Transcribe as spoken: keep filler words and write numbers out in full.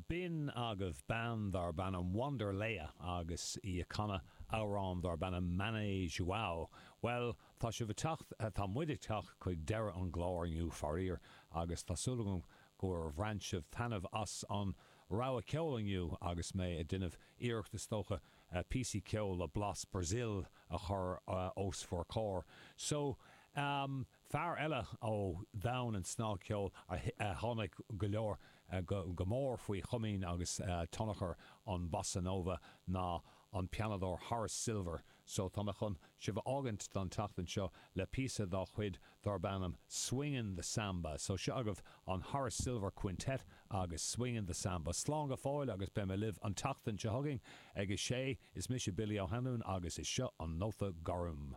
B'in agaibh bean darb ainm Wanderléa agus í ag canadh amhrán darb ainm Mané João. Well, tá sibh ag teacht, tá muid ag teacht chuig deireadh an chláir inniu, faraor, agus tá súil agam gur bhain sibh taitneamh as an rogha ceoil inniu agus mé ag déanamh iarracht, is dócha, píosaí ceoil le blas Brazil a chur os bhur gcomhair. So, um, fear eile ó domhan an snagcheoil a tháinig go leor go, go mór faoi chomaoin agus tionchar an bossa nova ná an pianadóir Horace Silver. So tá mé chun sibh a fhágaint don tseachtain seo le píosa dá chuid darb ainm Swingin' the Samba. So seo agaibh an Horace Silver Quintet agus Swingin' the Samba. Slán go fóill agus beidh mé libh an tseachtain seo chugainn ag a sé. Is mise Billy Ó hAnluain agus is seo an Nóta Gorm.